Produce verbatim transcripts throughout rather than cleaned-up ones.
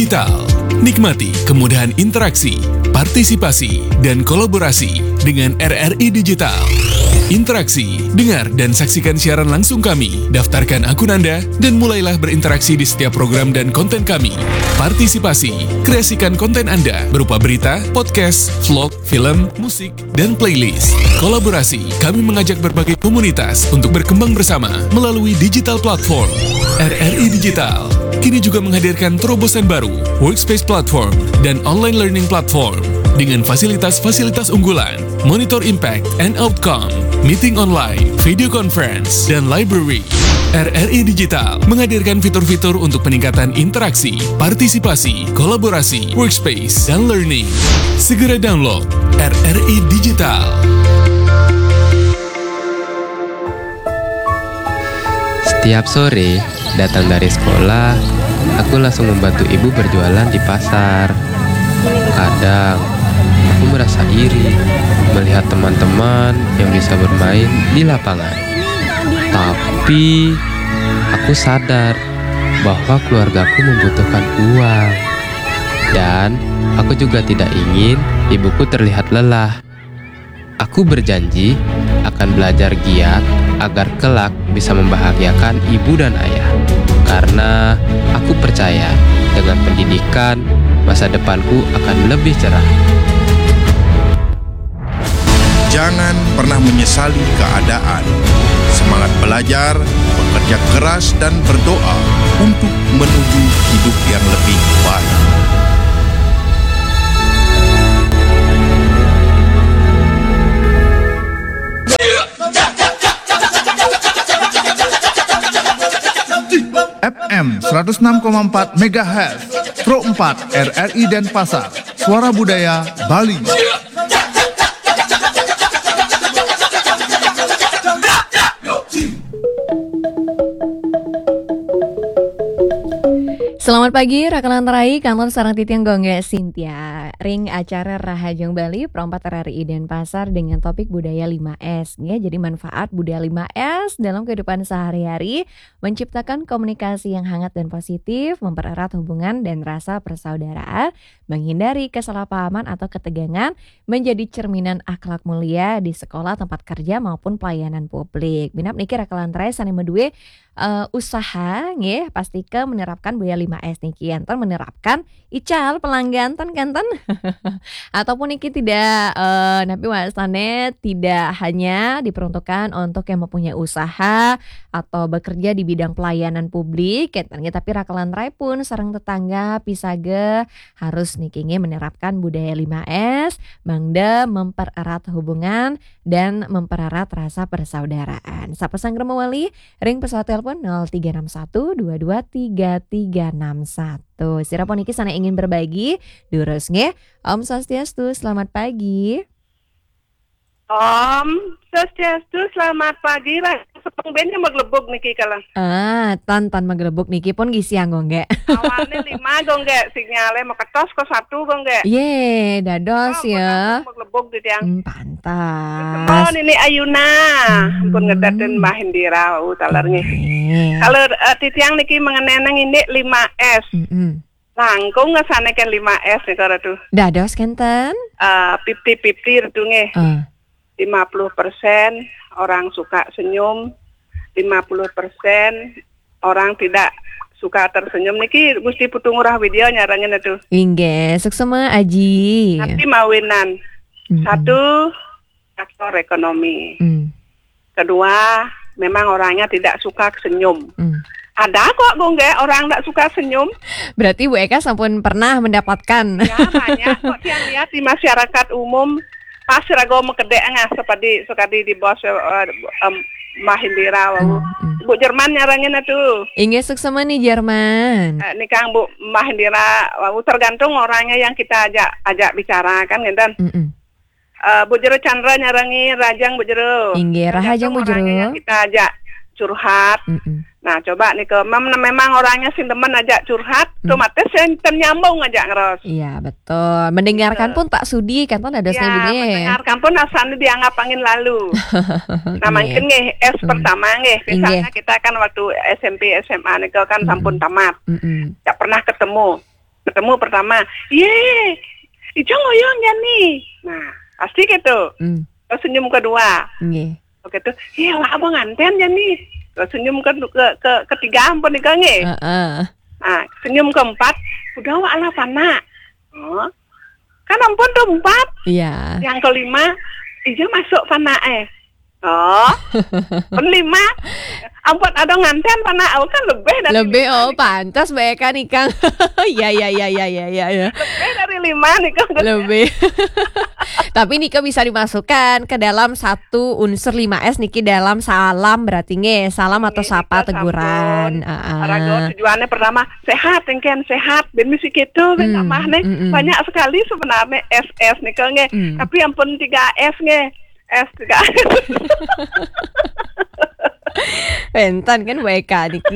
Digital. Nikmati kemudahan interaksi, partisipasi, dan kolaborasi dengan R R I Digital. Interaksi, dengar dan saksikan siaran langsung kami. Daftarkan akun Anda dan mulailah berinteraksi di setiap program dan konten kami. Partisipasi, kreasikan konten Anda berupa berita, podcast, vlog, film, musik, dan playlist. Kolaborasi, kami mengajak berbagai komunitas untuk berkembang bersama melalui digital platform. R R I Digital kini juga menghadirkan terobosan baru, Workspace Platform dan Online Learning Platform, dengan fasilitas-fasilitas unggulan, Monitor Impact and Outcome, Meeting Online, Video Conference, dan Library. R R I Digital menghadirkan fitur-fitur untuk peningkatan interaksi, partisipasi, kolaborasi, workspace, dan learning. Segera download R R I Digital. Setiap sore, datang dari sekolah, aku langsung membantu ibu berjualan di pasar. Kadang, aku merasa iri melihat teman-teman yang bisa bermain di lapangan. Tapi, aku sadar bahwa keluargaku membutuhkan uang. Dan, aku juga tidak ingin ibuku terlihat lelah. Aku berjanji akan belajar giat agar kelak bisa membahagiakan ibu dan ayah. Karena aku percaya dengan pendidikan, masa depanku akan lebih cerah. Jangan pernah menyesali keadaan. Semangat belajar, bekerja keras dan berdoa untuk menuju hidup yang lebih baik. F M seratus enam koma empat megahertz, Pro empat R R I Denpasar, Suara Budaya Bali. Selamat pagi, Rakalan Terai, kantor sarang titiang Gongge Sintia. Ring acara Rahajeng Bali, Pro empat R R I Denpasar dengan topik budaya lima S. Ya, jadi manfaat budaya lima S dalam kehidupan sehari-hari, menciptakan komunikasi yang hangat dan positif, mempererat hubungan dan rasa persaudaraan, menghindari kesalahpahaman atau ketegangan, menjadi cerminan akhlak mulia di sekolah, tempat kerja maupun pelayanan publik. Minab niki Rakalan Terai sane medue eh, usaha nggih, pastike menerapkan budaya lima S niki, enten menerapkan ical pelanggan ten kenten. Ataupun niki tidak eh, napi wastane tidak hanya diperuntukkan untuk yang mempunyai usaha atau bekerja di bidang pelayanan publik kenten nggih, tapi Rakalan Terai pun sareng tetangga pisaga harus niki nggih menerapkan budaya lima S, mangda mempererat hubungan dan mempererat rasa persaudaraan. Sapa sanggra mawali ring pesawat telepon nol tiga enam satu dua dua tiga tiga enam satu. Sira puniki sana ingin berbagi, durus nggih. Om Swastiastu, selamat pagi. Om Swastiastu, selamat pagi. Lah, sepeng ben yang maglebug niki kala. Ah, tan tan maglebug niki pun gisiang Gongge. Awalnya lima Gongge, sinyalnya maketos kok satu Gongge. Ye, dados ya. Maglebug di tiang. Hmm, Oh, pantas. Nini Ayuna. Hmm. Ampun ngedatin Mbah Indira, uh, taler nggih. Nggih. Kalau eh, titiang niki mengenai nang ini lima S. Mm-mm. Langkung ngesane kan lima S nih kalau tuh. Dados kenten. Eh, fifty fifty itu nggih. Eh, Lima puluh persen orang suka senyum, lima puluh persen orang tidak suka tersenyum. Niki Gusti Putu Ngurah Widya nyarengin itu. Inggih, suksema Aji. Tapi mawinan. Mm-mm. Satu, faktor ekonomi. Mm. Kedua, memang orangnya tidak suka senyum. Mm. Ada kok Gongge orang tidak suka senyum. Berarti Bu Eka sampun pernah mendapatkan. Ya, banyak kok yang lihat di masyarakat umum pas rago mekedek ngah seperti sekali di bos eh, em, Mbah Indira wau. Mm, mm. Bu Jerman nyarengin itu. Inggih, suksema nih Jerman. Eh, nikang Bu Mbah Indira wau tergantung orangnya yang kita ajak ajak bicara kan ngenten. Mm-mm. Eh, Bu Jero Chandra nyarengin Rahajeng Bu Jero. Inggih, Rahajeng Bu Jero. Tergantung orangnya yang kita ajak curhat. Mm-mm. Nah, coba nih ke mem- memang orangnya sing demen ajak curhat, Hmm. otomatis yang nyambung ajak ngeros. Iya, betul. Mendengarkan pun tak sudi kan, dados Ya, nggih. mendengarkan pun rasanya dianggap angin lalu. Nah, Iya. mungkin nggih S Hmm. pertama nggih. Misalnya Inggih. Kita kan waktu S M P S M A nih kan Hmm. sampun tamat. Mm-mm. Tidak pernah ketemu. Ketemu pertama, "Ye, Ijang oyong ya nih." Nah, pasti gitu. Hmm. Terus senyum kedua. Nggih. Oke tuh, "Iya, wah, abang nganten ya nih." Terus senyum ke, ke, ke ketiga ampun nih, Kang, eh. Heeh. Nah, senyum keempat, "Udah, wah, alah, pana." Oh. Kan ampun tuh empat. Iya. Yang kelima, "Ija masuk pana, eh." Oh. Pun lima, "Ampun, ada nganten pana." Oh, kan lebih dari Lebih, lima oh, nih. Pantas bae kan, Ikang. Iya, iya, iya, iya, iya, iya, iya. Lebih dari lima nih, Kang. Lebih. Tapi nika bisa dimasukkan ke dalam satu unsur lima S niki dalam salam berarti nggih, salam atau Nggih, sapa nika teguran. Sampun. Heeh. Raga tujuannya pertama, sehat, engken sehat, ben misi gitu, ben Hmm, amah nih. Mm-mm. Banyak sekali sebenarnya S S nih, Kang, nggih. Hmm. Tapi ampun tiga S nggih. S tiga S. Wenten kan W K niki.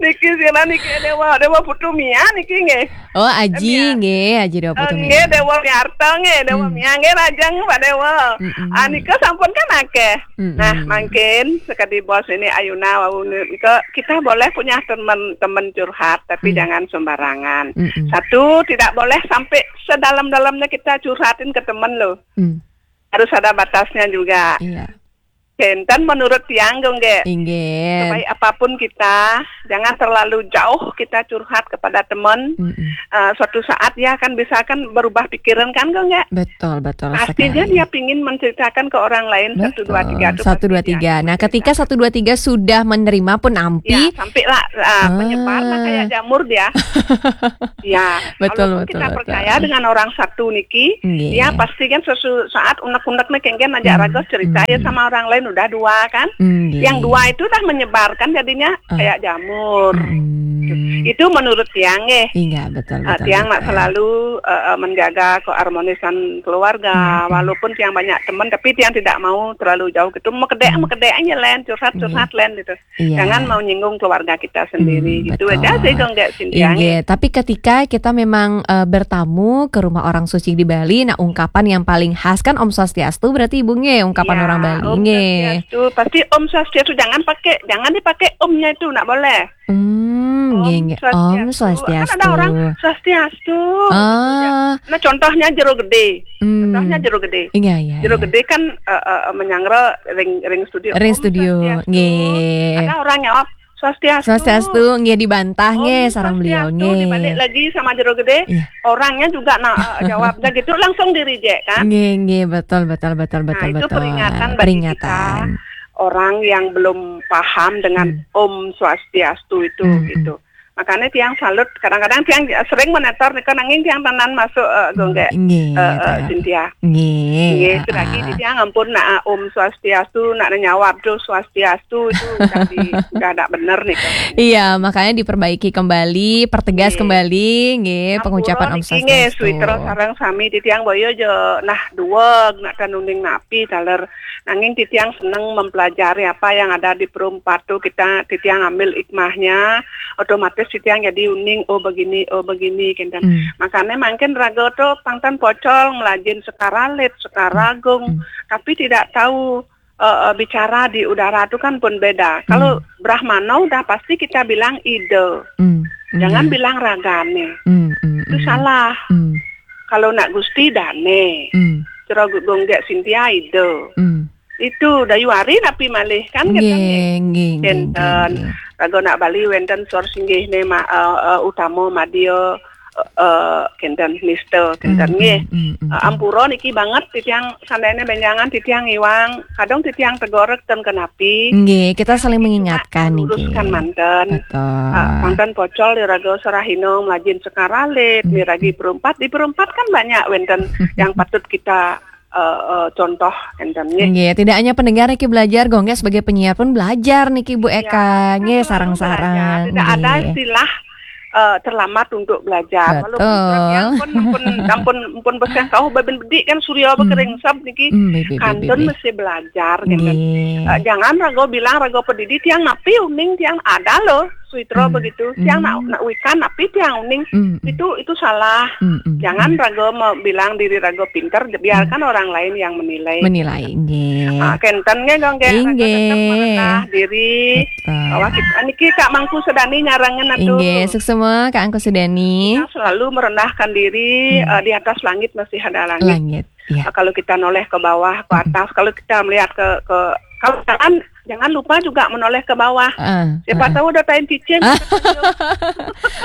Niki sira niki Dewa, Dewa Putu Mia niki nggih. Oh, Aji Mia. Nggih, Aji Dewa Putu Eh, Mia. Nggih, Dewa Miarta nggih, Dewa Hmm. Mia nggih, lajeng Pak Dewa. Mm-mm. Ah, nika sampun kan akeh. Mm-mm. Nah, mungkin sekadi bos ini Ayuna wau nika, kita boleh punya teman, teman curhat, tapi Hmm. jangan sembarangan. Mm-mm. Satu, tidak boleh sampai sedalam-dalamnya kita curhatin ke teman loh. Hmm. Harus ada batasnya juga. Iya. Enten menurut tiang dong, Ge. Inggih. Sebaik apapun kita, jangan terlalu jauh kita curhat kepada teman. Mm-mm. Eh, suatu saat dia akan bisa kan berubah pikiran kan, dong, Ge? Betul, betul Pastinya sekali. Dia pingin menceritakan ke orang lain, satu, dua, tiga Betul. Tuh Satu, pasti dua, dia tiga. Nah, akan ketika cerita. Satu, dua, tiga sudah menerima pun ampi. Ya, sampai lah, ah, Ah. menyebar lah kayak jamur dia. Ya, Betul, kalaupun betul, kita betul. percaya dengan orang satu niki, Nggih. dia pasti kan suatu saat unek-unek nih kengken ajak Hmm, raga cerita ya hmm. sama orang lain udah dua kan. Nggih. Yang dua itu udah menyebarkan jadinya Ah. kayak jamur. Hmm. Itu menurut tiang nggih. Iya, betul, Ah, betul, tiang nak betul. selalu, eh, eh, menjaga keharmonisan keluarga, Hmm, hmm. walaupun tiang banyak teman, tapi tiang tidak mau terlalu jauh gitu. Mekedek, Hmm. mekedek aja, Len, curhat, Hmm. curhat, Len, gitu. Iya. Jangan mau nyinggung keluarga kita sendiri, Hmm, gitu betul. Aja sih, kok nggak, Sintia, Iya, nggih. Tapi ketika kita memang, eh, bertamu ke rumah orang suci di Bali, nah, ungkapan yang paling khas kan Om Swastiastu, berarti Ibu nggih, ungkapan Iya, orang Bali, Om nggih. Swastiastu. Pasti Om Swastiastu, jangan pakai, jangan dipakai omnya itu, nggak boleh. Hmm, Om nggih, nggih. Swastiastu. Om Swastiastu. Kan ada orang, "Swastiastu." Ah. Nah, contohnya Jero Gede. Hmm. Contohnya Jero Gede. Iya, iya, Jero iya. Gede kan, eh, eh, menyanggra ring, ring studio. Ring Om studio, Swastiastu. Nggih. Ada orang jawab, "Swastiastu." Swastiastu, nggih, dibantah, Om nggih, sareng beliau, Swastiastu, nggih. Dibalik lagi sama Jero Gede, Iya. orangnya juga na-, eh, jawabnya gitu, langsung di-reject, kan? Nggih, nggih, betul, betul, betul, Nah, betul, itu betul. peringatan bagi Peringatan. kita, orang yang belum paham dengan Hmm. Om Swastiastu itu, Hmm, hmm. gitu. Makanya tiang salut, kadang-kadang tiang sering menetor nika, nanging tiang tenan masuk, eh, Hmm, gonggek, nggih, eh, eh, Kak. Cynthia. Nggih, Nggih, itu lagi ah. Di tiang ampun, nak, ah, Om Swastiastu, nak nyawab tuh Swastiastu, itu udah di-, udah ndak bener nih, Kak. Iya, makanya diperbaiki kembali, pertegas Nggih. kembali, nggih, Ampura pengucapan Om niki, nggih, Swastiastu. Suwitra sareng sami titiang boyo jo, nah, duweg, nak kan uning napi, taler. Nanging titiang seneng mempelajari apa yang ada di Perumpat tuh, kita, titiang ambil hikmahnya, otomatis titiang jadi uning, "Oh, begini, oh, begini," kenten. Hmm. Makanya mungkin raga tuh pangtan pocol, melajin Sekar Alit, Sekar Hmm. Agung, Hmm. tapi tidak tahu, eh, eh, bicara di udara tuh kan pun beda. Kalau Hmm. Brahmana udah pasti kita bilang ide. Hmm. Jangan Iya. bilang ragane. Hmm, hmm, Itu hmm. salah. Hmm. Kalau nak Gusti dane. Hmm. Cara gonggek Sintia ide. Hmm. Itu Dayu Ari napi malih kan, nggih, kenten, nggih. Nggih, nggih, Kenten. Nggih. Raga nak Bali wenten sor singgih ne ma-, eh, eh, utama madya, eh, eh, kenten nista, kenten, Hmm, nggih. Hmm, hmm, hmm, Eh, hmm. Ampura niki banget titiang sandene benjangan titiang iwang, kadang titiang tegorek ten kenapi. Nggih, kita saling Cuma mengingatkan niki. Luruskan manten. Betul. Eh, manten pocol di raga Sarahina melajin Sekar Alit, Hmm, miragi hmm. Perumpat. Di Perumpat kan banyak wenten yang patut kita eh, eh, contoh enten, nggih. Nggih, tidak hanya pendengar niki belajar, gonggek sebagai penyiar pun belajar niki, Bu Eka. Ya, nggih, betul, sarang-sarang. Belajar. Tidak ada Nggih. Istilah, eh, terlambat untuk belajar. Betul. Walaupun surat yang pun, pun, ampun, pun beseng tahu, babin bedik kan surya Hmm. bekering sab niki. Hmm, betul, betul, kantun betul. Mesti belajar, gitu. Nggih. Eh, jangan raga bilang raga pedidi, tiang napi uning, tiang ada loh. Sawitro begitu. Tiang nak nak wikan, tapi tiang uning itu itu salah. Jangan raga bilang diri raga pinter, biarkan orang lain yang menilai. Menilai, nggih. Ah, kenten nggih, Gong, nggih. Raga tetep merendah diri. Betul. Bahwa kita niki Kak Mangku Sedani nyarengan atuh. Inggih, suksma Kak Angku Sedani. Kita selalu merendahkan diri, eh, di atas langit masih ada langit. Langit. Iya. Nah, kalau kita noleh ke bawah, ke atas, kalau kita melihat ke ke kalau jalan, jangan lupa juga menoleh ke bawah. Siapa tahu ada tain cicing.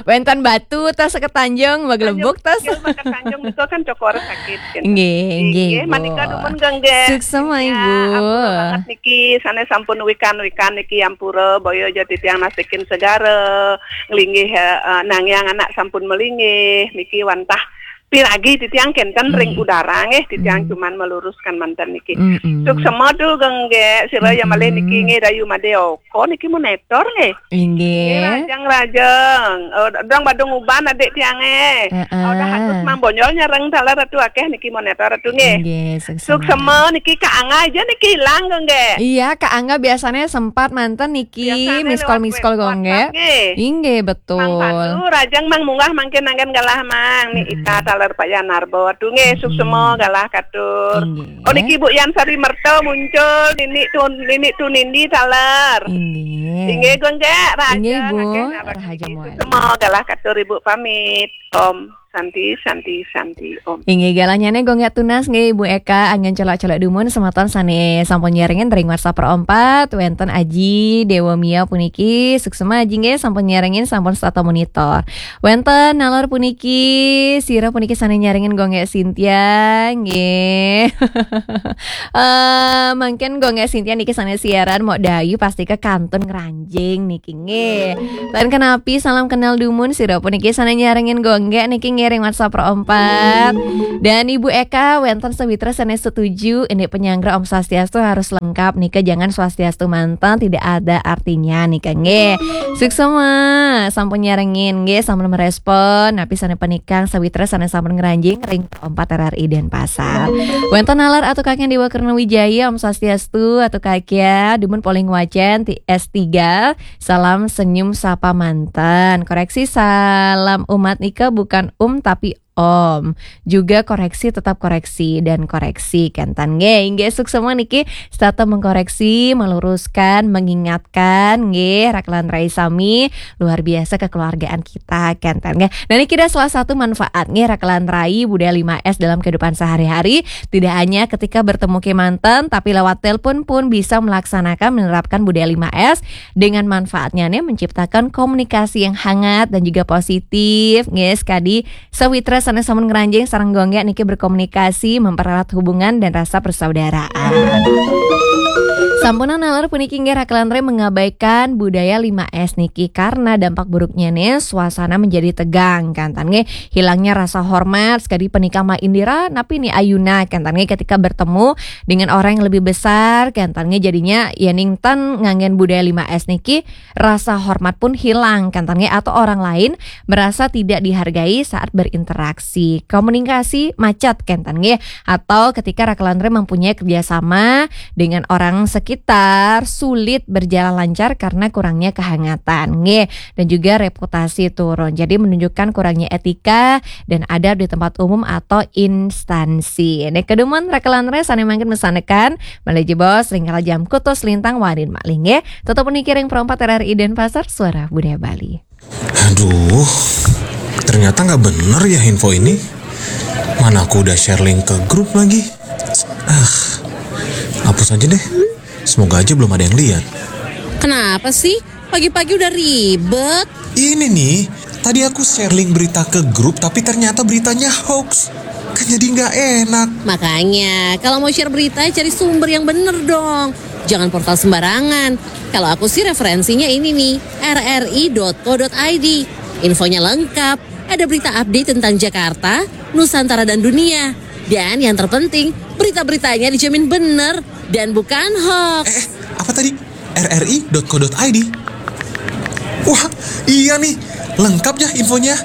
Wénten batu tas ketanjung, maglebuk tas. Tanjung itu kan cokor sakit kan. Nggih, nggih, Bu. Manika dumun, Gong, nggih. Suksma, Ibu. Ampura banget niki, sané sampun wikan-wikan niki ampura, boyo aja titiang nasikin segara, nglinggih, eh, nangiang anak sampun melinggih, niki wantah piragi titiang kenten ring udara nggih, titiang cuman meluruskan manten niki. Suksma dumun, Gong, nggih, sira ya malih niki nggih dayu madé oko niki monitor nggih. Inggih. Nggih, rajang-rajang. Oh, dong badung uban adik tiangé. Heeh. Oh, dah halus Mang Bonyol nyareng taler atu akéh niki monitor atu nggih. Inggih, suksma. Suksma niki Kak Angga aja niki ilang, Gong, nggih. Iya, Kak Angga biasanya sempat manten niki miss call, miss call, Gong, nggih. Inggih, betul. Mang Pandu, rajang Mang munggah mangkin anggen galah Mang. Ni Ita taler Pak Yanarbo atu nggih, suksma galah katur. Inggih. Oh, niki Bu Yan Sari Merto muncul, nini tu nini tu nindi taler. Inggih. Inggih, Gong, nggih, rajang. Inggih, Bu. Akéh naraka niki. Suksma galah katur Ibu pamit. Om Santi, Santi, Santi, Om. Inggih, galahnya nih Gong, nggih, tunas nggih Ibu Eka, anggen colok-colok dumun semeton sané sampun nyarengin ring WhatsApp Pro empat, wénten Aji Dewa Mia puniki, suksma Aji nggih sampun nyarengin, sampun setata monitor. Wénten nalor puniki, sira puniki sané nyarengin Gong, nggih, Sintia nggih. Eh, mangkin Gong, nggih, Sintia niki sané siaran mok dayu pasti ke kantun ngranjing niki nggih. Lan kenapi salam kenal dumun sira puniki sané nyarengin Gong, nggih, niki ngiring WhatsApp Pro empat. Dan Ibu Eka wénten sawitra sané setuju, ini penyanggra Om Swastiastu harus lengkap nika, jangan Swastiastu manten tidak ada artinya nika nggih. Suksma sampun nyarengin nggih, sampun merespon napi sané penikang sawitra sané sampun ngranjing ring Pro empat R R I Denpasar. Wénten nalar atu Kakén Dewa Kerna Wijaya, Om Swastiastu atu Kakén, dumun polih wacén ti S tiga. Salam senyum sapa manten. Koreksi, salam umat nika bukan um tapi om. Juga koreksi, tetap koreksi dan koreksi. Kenten nggih, inggih, suksma niki setata mengkoreksi, meluruskan, mengingatkan nggih, rakelan rai sami, luar biasa kekeluargaan kita, kenten nggih. Nah, niki ada salah satu manfaat nggih, rakelan rai budaya lima S dalam kehidupan sehari-hari. Tidak hanya ketika bertemu kemanten, tapi lewat telepon pun bisa melaksanakan, menerapkan budaya lima S. Dengan manfaatnya nih menciptakan komunikasi yang hangat dan juga positif. Nggih, sekadi sawitra sané sampun ngranjing sareng Gong, nggih, niki berkomunikasi, mempererat hubungan dan rasa persaudaraan. Sampunang nalar puniki nggih, rakelan rai mengabaikan budaya lima S niki karena dampak buruknya nih suasana menjadi tegang, kenten nggih, hilangnya rasa hormat, sekadi penikang Mak Indira napi Ni Ayuna, kenten nggih, ketika bertemu dengan orang yang lebih besar, kenten nggih, jadinya yéning ten nganggen budaya lima S niki, rasa hormat pun hilang, kenten nggih, atau orang lain merasa tidak dihargai saat berinteraksi. Komunikasi macet, kenten nggih, atau ketika rakelan rai mempunyai kerjasama dengan orang sekitar, sulit berjalan lancar karena kurangnya kehangatan nggih, dan juga reputasi turun. Jadi menunjukkan kurangnya etika dan adab di tempat umum atau instansi. Nika dumun rakelan rai sané mangkin mesanekan, malih jebos ring kalajam kutus lintang wangdin malih nggih. Tetep puniki ring Pro empat R R I Denpasar, Suara Budaya Bali. Aduh, ternyata nggak bener ya info ini. Mana aku udah share link ke grup lagi. Ah, hapus aja deh. Semoga aja belum ada yang lihat. Kenapa sih? Pagi-pagi udah ribet. Ini nih, tadi aku share link berita ke grup, tapi ternyata beritanya hoax. Kan jadi nggak enak. Makanya, kalau mau share berita, cari sumber yang bener dong. Jangan portal sembarangan. Kalau aku sih referensinya ini nih, R R I dot co dot I D. Infonya lengkap, ada berita update tentang Jakarta, Nusantara dan dunia. Dan yang terpenting, berita-beritanya dijamin bener dan bukan hoax. Eh, eh, apa tadi? R R I dot co dot I D. Wah, iya nih, lengkap ya infonya.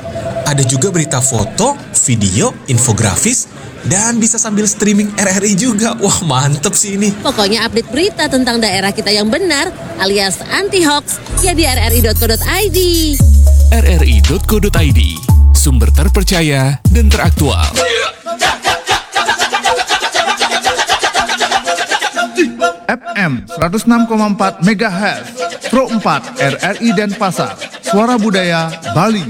Ada juga berita foto, video, infografis, dan bisa sambil streaming R R I juga. Wah, mantep sih ini. Pokoknya update berita tentang daerah kita yang benar alias anti hoax ya di rri.co.id. rri.co.id, sumber terpercaya dan teraktual. F M seratus enam koma empat megahertz, Pro empat R R I Denpasar, Suara Budaya Bali.